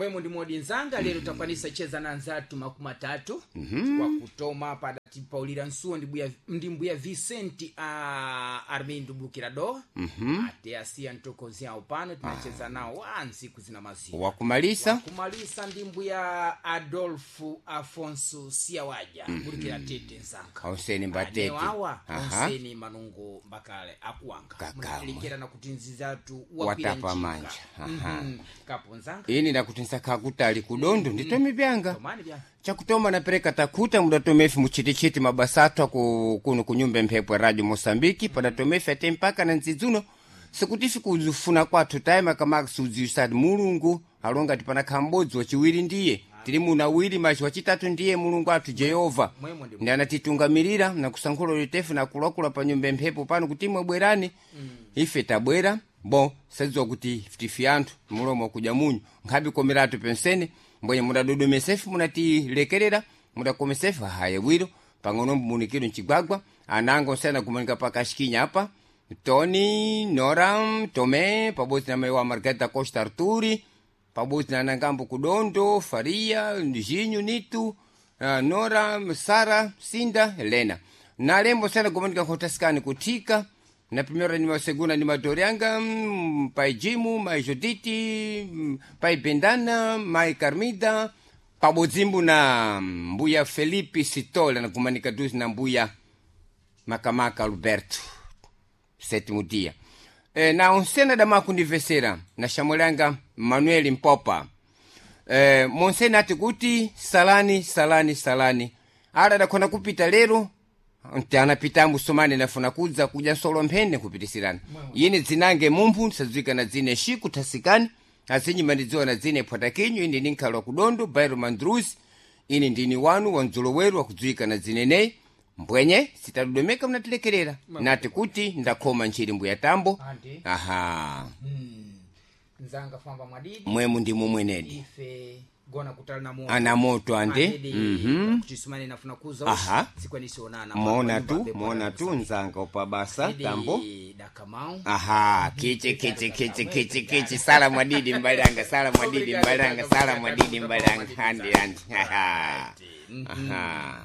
Mbwemo ndi modi nzanga lero takwanisa cheza na anzathu 30 kwa kutoma padatipaulira nsuwo ndi mbuya Vicente a Armindo Bukirador ate asiya mtokozi awo pano tinacheza nawo wa ntsiku zina mazina. Wakumalisa. Kumalisa ndi mbuya Adolfo Afonso Siawaja bulikira tete nzanga. Onseni mbatete. Awa Aha. onseni manungo mbakale akuwanga. Kakamwe. Munatilikira kuti nzizatu wakwira Watapa njinga. manja. Aha. Kapo nzanga. Ini ndakuti nsakha kutali kudondo nditome vyanga. Tomani vya. Chakutoma napereka takuta mudatomefi muchitichiti mabasa athu aku kuno kunyumba mphepo ya Radio Moçambique padatomefi ate mpaka na ndzidzuno sikutifi kuzifuna kwathu taima kamaka siudziwisati Mulungu alonga ti panakha m'bodzi wachiwiri ndiye tili muna awiri machi wachitatu ndiye Mulungu athu Jehova. Mwemwe ndi Ndi anatitungamirira nakusankhula litefu nakulakula pa nyumba mphepo pano kuti imwe bwerani. Ife tabwera bon sadziwa kuti tifi anthu mulomo kudya munyu nkhabe komeratu pensene mbwenye mudadodomesefu munatilekerera mudakomesefu haye bwiro pang'ono munikiro mchigwagwa ananga osena kumanika pakashikinya apa Tony Noram Tomé pabodzi na mayi wa Margarida Costa Arturi pabodzi na anangambo kudondo Faria Jinho Nitu, Nora Sara Sinda Helena na lembo sena kumanika khotasikani kuthika na primera ni segunda ni madorianga, pai Jimu mai Juditi, pai Bendana mai Carmida pabodzimbu na mbuya Felipe Sitola na kumanika duzi na mbuya Makamaka Alberto sétimo dia. Na onsena da makundivesera na shamulanga Manuel Mpopa. Monsena ati kuti salani salani salani ala dakhona kupita lero nti anapita musomane nafuna kudza kudya nsolo mphene kupitisirana ine dzinange mumphu ndisadziwika na dzine Shiku Thasikani azinyima ndidziwa na dzine Phwatakinyu ine ndinkhala kudondo Bairo Mandruzi ine ndini wanu wa mdzoloweru wakudziwika na dzine neyi mbwenye sitadodomeka mnatilekerera nati kuti ndakhoma ntchiri mbuya tambo. Andi. Aha. Nzanga famba mwadidi. Mwemu ndimo mwenedi. Ife gona kutali na moto. Ana moto ande. Andedi, kuti sumane nafuna kuza. Aha. Sikwanisi onana. Mona tu mona tu nzanga upabasa tambo. Dakamau. Aha, kiche kiche kiche kiche kiche sala mwadidi mbalanga sala mwadidi mbalanga sala mwadidi mbalanga andi andi aha. Aha.